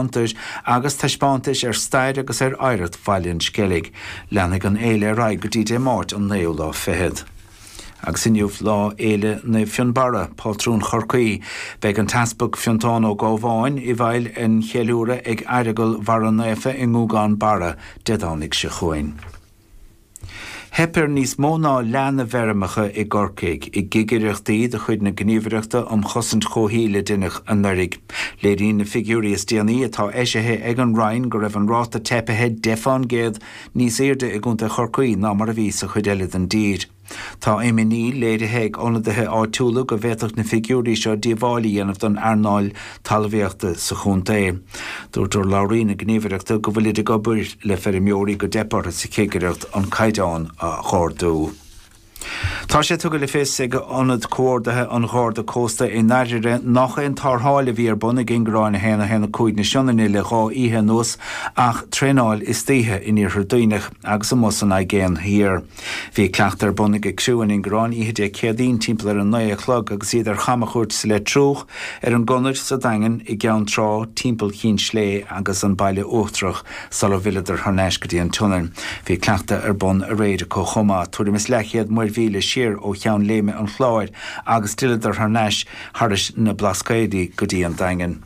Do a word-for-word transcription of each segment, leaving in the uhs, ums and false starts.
Fiontair agus taispeántais ar stair agus ar oidhreacht Bhaile an Sceilg. Leanfaidh an fhéile ar aghaidh go dtí Dé Máirt an naoú lá fichead. Agus inniu Lá Fhéile Naomh Fionnbarra, pátrún Chorcaí, beidh an tEaspag Fiontán Ó Gabháin i bhfeighil an cheiliúradh ag Aireagal Bharra Naofa i nGúgán Barra Dé Domhnaigh seo chugainn. Theip ar níos mó ná leath na bhfeirmeacha i gCorcaigh i gcigireachtaí de chuid na Gníomhaireachta um Chosaint Chomhshaoil a deineadh anuraidh. Léiríonn na figiúirí is déanaí atá eisithe ag an Roinn go raibh an ráta teipithe deich fán gcéad níos airde i gContae Chorcaí ná mar a bhí sa chuid eile den dtír. Tá imní léirithe ag ionadaithe áitiúla go bhféadfadh na figiúirí seo díobháil a dhéanamh don earnáil talmhaíochta sa chontae. Dúirt urlabhraí na Gníomhaireachta go bhfuilid ag obair le feirmeoirí go dteip orthu sa chigireacht an caighdeán a ardú. Tá sé tugtha le fios ag Ionad Comhordaithe an Gharda Cósta i nDairire nach aon tarrtháil a bhí ar bun ag Ingearán a haon a haon a cúig na Sionainne le dhá oíche anuas ach traenáil istoíche in Iarthar Duibhneach agus amuigh san Aigéan Thiar. Bhí cleachtadh ar bun ag criú an Ingearáin oíche Dé Céadaoin timpeall ar a naoi a chlog agus iad ar chamchuairt sa Leitriúch, ar an gConair sa Daingean, i gCeann Trá, timpeall Chinn Slé agus an Baile Uachtarach sula bhfilleadar thar n-ais go dtí an tSionainn. Bhí cleachtadh ar bun aréir acu chomh maith, tuairim is leathchéad muirmhíle siar ó Cheann Léime an Chláir agus d'fhilleadar thar n-ais thairis na Blascaodaí go dtí an Daingean.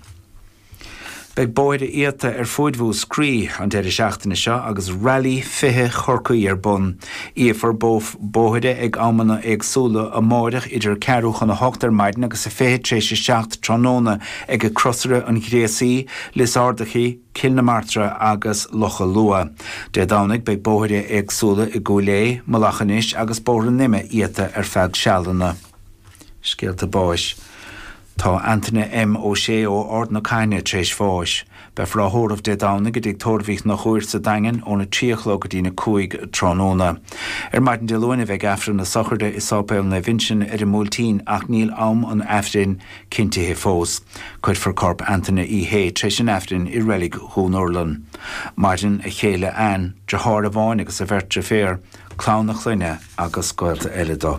Beidh bóithre iata ar fuaid Mhúscraí an deireadh seachtaine seo agus Rally fiche Chorcaí ar bun. Iafar bóithre ag amanna éagsúla amáireach idir ceathrú chun a hocht ar maidin agus a fiche tar éis a seacht tráthnóna ag Crosaire an Ghréasaí, Lios Ardachaí, Cill na Martra agus Locha Lua. Dé Domhnaigh beidh bóithre éagsúla i gCúil Aodha, Mullach Inis agus Bóthar na Ime iata ar feadh sealanna. Scéalta báis. Tá Antaine M. Ó Sé ó Ard na Caithne tar éis bháis. Beifear á thórramh Dé Domhnaigh i dTigh Tórraimh Uí Chonchúir sa Daingean óna trí a chlog go dtína cúig tráthnóna. Ar maidin Dé Luain a bheidh Aifreann na sochraide i Sáipéal Naomh Uinseann ar an mBuailtín ach níl am an Aifrinn cinntithe fós. Cuirfear corp Antaine Uí Shé tar éis an Aifrinn i Reilig Dhún Urlann. Maireann a chéile Ann, deartháir amháin agus a bheirt deirféar, clann a chlainne agus gaolta eile dó.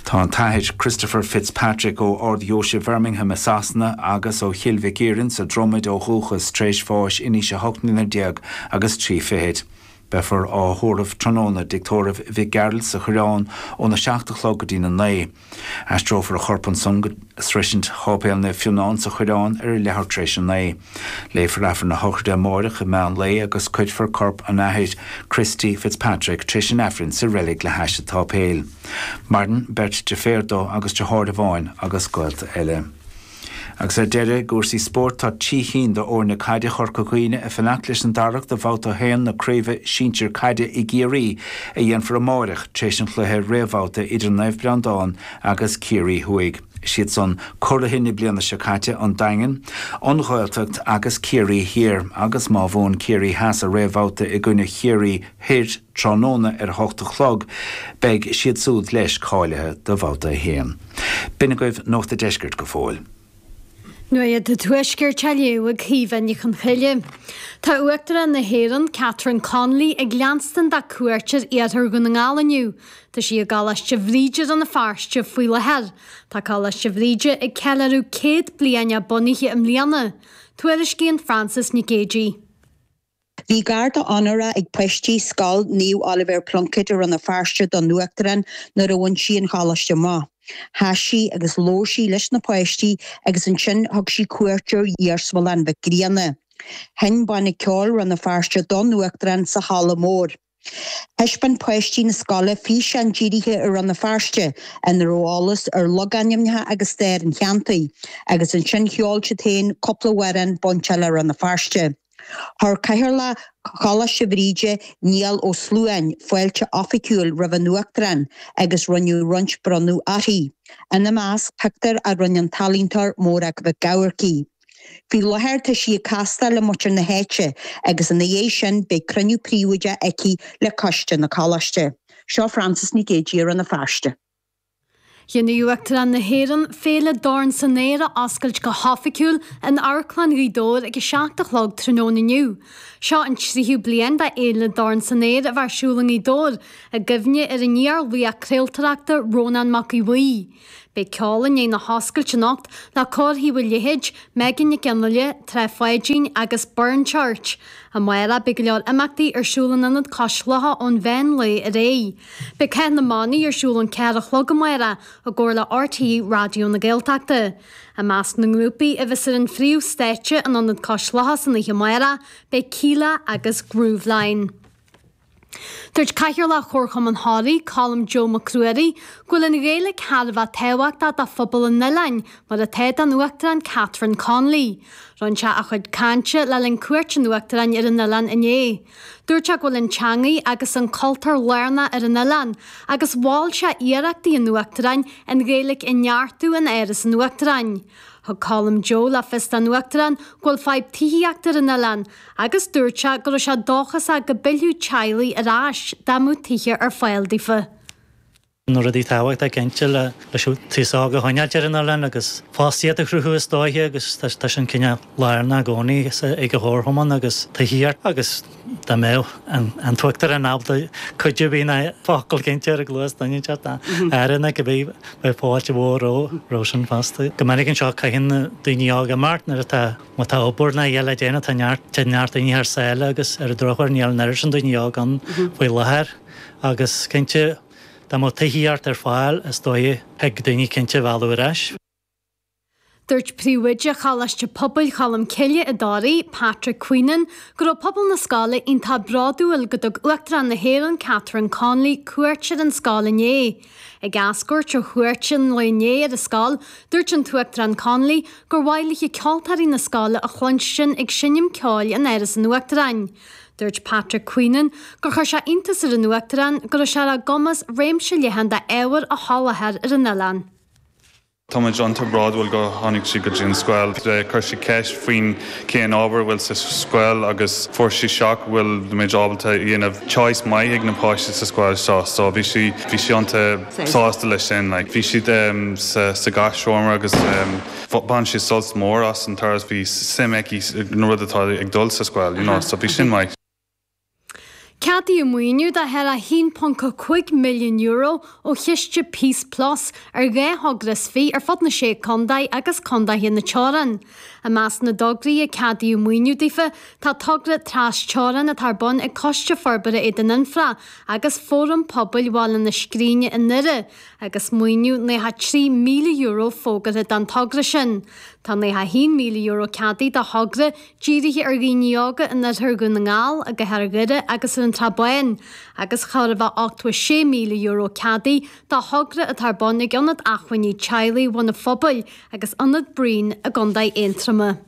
Tá an tAthair Christopher Fitzpatrick ó Ard-Dheoise Bhirmingham i Sasana agus ó Chill Mhic Iarainn sa Dromaid ó dhúchas tar éis bháis in aois a hocht mbliana déag agus trí fichid. Beifear á thórramh tráthnóna i dTigh Tórraimh Mhic Gearailt sa Choireán óna seacht a chlog go dtína naoi. Aistreofar a chorp ansan go sroisint Sháipéal Naomh Fionnán sa Choireán ar a leathuair tar éis a naoi. Léifear Aifreann na sochraide amáireach i meán lae agus cuirfear corp an Athar Christy Fitzpatrick tar éis an Aifrinn sa reilig le hais an tsáipéil. Maireann beirt deirféar dó agus deartháir amháin agus gaolta eile. Agus ar deireadh, i gcúrsaí spóirt, tá trí chinn d'fhoirne caide Chorca Dhuibhne ag fanacht leis an Darach do Bhabhta a haon na Craoibhe Sinsir Caide i gCiarraí a dhéanfar amáireach tar éis an chluiche réamhbhabhta idir Naomh Breandán agus Ciarraí Thuaidh. Is iad san curaithe na bliana seo caite, An Daingean, An Ghaeltacht agus Ciarraí Thiar agus má bhuann Ciarraí Theas a réamhbhabhta i gcoinne Chiarraí Thoir tráthnóna ar a hocht a chlog, beidh siad súd leis cáilithe do Bhabhta a haon. B'in agaibh Nuacht a' Deiscirt go fóill. Nuacht an Tuaiscirt á léamh ag Caoimhe Ní Chonchoille. Tá Uachtarán na hÉireann, Catherine Connolly, ag leanstan dá cuairt ar iarthar Dhún na nGall inniu. Tá sí i gColáiste Bhríde i Rann na Feirste faoi láthair. Tá Coláiste Bhríde ag ceiliúradh céad bliain a bunaithe i mbliana. Tuairiscíonn Frances Nic Géadaigh. Bhí garda onóra ag páistí Scoil Naomh Oilibhéar Pluincéid i Rann na Feirste don Uachtarán nuair a bhain sí an choláiste amach. Sheas sí agus labhair sí leis na páistí agus ansin thug sí cuairt ar Iarsmalann Mhic Grianna. Sheinn Banna Ceoil Rann na Feirste don Uachtarán sa Halla Mór. Thaispeáin páistí na scoile físeán dírithe ar Rann na Feirste ina raibh eolas ar logainmneacha agus stair an cheantair agus ansin cheol siad féin cúpla amhrán bainte le Rann na Feirste. Chuir Cathaoirleach Choláiste Bhríde, Niall Ó Sluáin, fáilte oifigiúil roimh an Uachtarán agus rinneadh roinnt bronnadh uirthi, ina measc pictiúr a rinne an t-ealaíontóir Morag Mhic Eamharcaigh. Faoi láthair tá sí ag castáil le muintir na háite agus ina dhiaidh sin beidh cruinniú príobháideach aici le coiste na coláiste. Seo Frances Nic Géadaigh i Rann na Feirste. Dhéanfaidh Uachtarán na hÉireann Féile Dorn san Aer a oscailt go hoifigiúil in Amharclann Ghaoth Dobhair ag a seacht a chlog tráthnóna inniu. Seo an tríú bliain de Fhéile Dorn san Aer a bheith ar siúl i nGaoth Dobhair, i gcuimhne ar an iar-laoch craoltóireachta Rónán Mac Aodha Bhuí. Beidh ceol i ndiaidh na hoscailte anocht le Cór Thaobh an Leithéid, Megan Nic Fhionnghaile, Trá Pháidín agus Burren Church. Amárach beidh go leor imeachtaí ar siúl in Ionad Cois Locha ón mheán lae ar aghaidh. Beidh Cath na mBannaí ar siúl ón ceathair a chlog amárach i gcomhar le RTÉ Raidió na Gaeltachta. I measc na ngrúpaí a bheas ar an phríomh stáitse in Ionad Cois Locha san oíche amárach beidh Kíla agus Grooveline. Dúirt Cathaoirleach Chomharchumann Thoraí, Colm Joe Mac Ruairí, go bhfuil an Ghaeilge thar a bheith tábhachtach do phobal an oileáin, mar atá don Uachtarán Catherine Connolly. Rinne sé a chuid cainte le linn cuairt an Uachtaráin ar an oileán inné. Dúirt sé go bhfuil an teanga agus an cultúr lárnach ar an oileán, agus mhol sé iarrachtaí an Uachtaráin an Ghaeilge a neartú in Áras an Uachtaráin. Thug Colm Joe le fios don Uachtarán go bhfuil fadhb tithíochta ar an oileán, agus dúirt sé go raibh sé dóchasach go bpillfeadh teaghlaigh ar ais dá mbeadh tithe ar fáil daofa. Na rudaí tábhachtacha cinnte le leis an t-aos óg a choinneáil ar an oileán agus fostaíocht a chruthú is dóiche agus tá sin cineál lárnach i gcónaí ag an chomharchumann agus tithíocht agus dá mbeadh an t-uachtarán ábalta cuid a bhí na focail cinnte ar a gcluas duine inteacht aire na go bhí beidh fáilte mhór roimhe sin fosta. Go minic anseo caitheann daoine óga imeacht nuair atá má tá obair ná eile déanamh tá neart tá neart daoine thar sáile agus ar an drochuair níl an oiread sin daoine óg ann faoi láthair agus cinnte dá mbeadh tithíocht ar fáil is dóigh thig daoine cinnte a mhealladh ar ais. Dúirt príomhoide Choláiste Pobail Cholm Cille i dToraigh, Patrick Queenan, go raibh pobal na scoile iontach bródúil go dtug Uachtarán na hÉireann Catherine Connolly cuairt ar an scoil inné. Ag eascairt ó chuairt an lae inné ar an scoil, dúirt an tUachtarán Connolly gur mhaith léi ceoltóirí na scoile a chluinstin ag seinm ceoil in Áras an Uachtaráin. Dúirt Patrick Queenan gur chuir sé iontas ar an Uachtarán go raibh sé ar a gcumas réimse leathan d'ábhar a sholáthar ar an oileán. Tá muid iontach bródúil go tháinig sí go dtí an scoil. Chuir sí ceist faoin cén ábhar bhfuil sa scoil agus fuair sí shock bhfuil muid ábalta dhéanamh choice maith ag na páistí sa scoil seo, so bhí sí bhí sí iontach sásta leis sin. Like, bhí siad um, sa, sa gach agus um, bhain sí sult mór as an turas bhí suim aici na rud atá ag dul sa scoil, you know, so bhí sin maith. Ceadaíodh maoiniú de thar a haon ponc cúig milliún euro ó chiste Peace Plus ar dhá thogra is fiche ar fud na sé contae agus contaetha na teorann. I measc na dtograí a ceadaíodh maoiniú daofa tá togra trasteorann atá ar bun ag Coiste Forbartha Éadan Anfra agus Fóram Pobail Bhaile na Scríne i nDoire, agus maoiniú nócha trí míle euro fógartha don togra sin. Tá nócha haon míle euro ceadaithe do thogra dírithe ar dhaoine óga in oirthear Dhún na nGall, i gCathair Dhoire agus ar an Trá Báin, agus chóir a bheith ochtó sé míle euro ceadaithe do thogra atá ar bun ag Ionad Acmhainní Teaghlaigh Bhun an Phobail agus Ionad Breen i gContae Aontroma.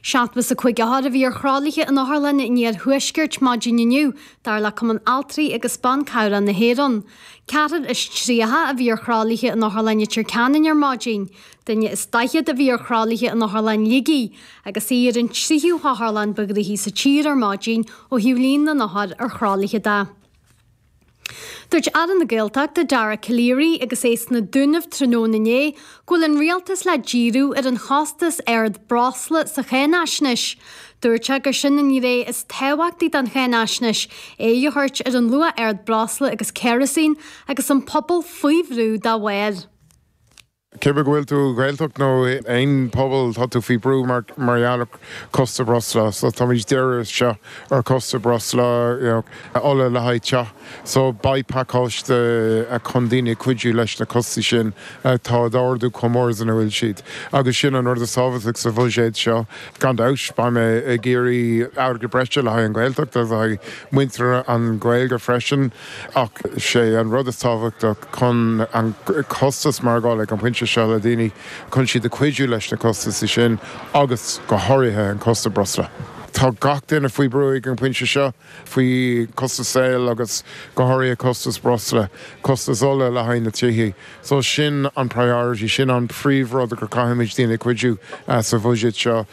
Seachtó is a cúig othar a bhí ar thralaithe in Otharlann an Iarthuaiscirt maidin inniu, dar le Cumann Altraí agus Ban Cabhrach na hÉireann. Ceathrar is tríocha a bhí ar thralaithe in Otharlann Leitir Ceanainn ar maidin. Duine is daichead a bhí ar thralaithe in Otharlann Shligigh, agus í ar an tríú hotharlann ba ghnoithí sa tír ar maidin ó thaobh líon na n-othar ar thralaithe de. Dúirt Aire na Gaeltachta Dara Calleary agus é sna Dúnaibh tráthnóna inné go bhfuil an rialtas le díriú ar an chostas ard breosla sa cháinaisnéis. Dúirt sé gur sin an ghné is tábhachtaí den cháinaisnéis, aghaidh a thabhairt ar an luach ard breosla agus kerosene agus an pobal faoi bhrú dá bharr. Cibé go bhfuil tú Gaeltacht nó aon pobal tá tú faoi brú mar mar gheall costas breosla, so táimid dírithe seo ar costas breosla you know, ola le haghaidh teach, so beidh pacáiste chun daoine cuidiú leis na costais sin atá ag ardú chomh mór is ina bhfuil siad. Agus sin an rud is tábhachtaí sa bhuiséad seo gan dabht beidh mé ag iarraidh airgead breise le haghaidh an Ghaeltacht agus le haghaidh muintir an Ghaeilge freisin ach sé an rud is tábhachtach chun an costas maireachtála ag an bpointe seo le daoine chun siad a cuidiú leis na costais sin agus go háirithe an costas breosla. Tá gach duine faoi brú ag an bpointe seo faoi costas saoil agus go háirithe costas breosla, costas ola le haghaidh na tithe. So sin an priority sin an príomhrud gur caithfimid daoine cuidiú uh, sa bhuiséad seo.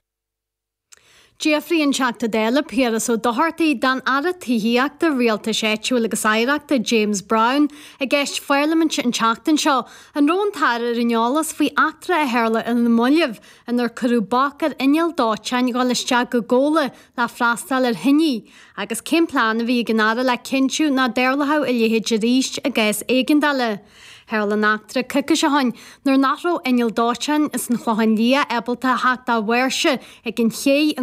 D'fhiafraigh an Teachta Dála Piaras Ó Dochartaigh den Aire Tithíochta Rialtais Áitiúil agus Oidhreachta James Browne i gceist pharlaiminte an tseachtain seo an raibh an tAire ar an eolas faoi eachtra a tharla ar na mallaibh inar cuireadh bac ar inneall dóiteáin dhul isteach go Gabhla le freastal ar thine agus cén plean a bhí ag an Aire le cinntiú nach dtarlódh a leithéid arís i gcás éigeandála. Tharla an eachtra coicís ó shin nuair nach raibh inneall dóiteáin as an Chlochán Liath ábalta a theacht dá bháirse ag an ché i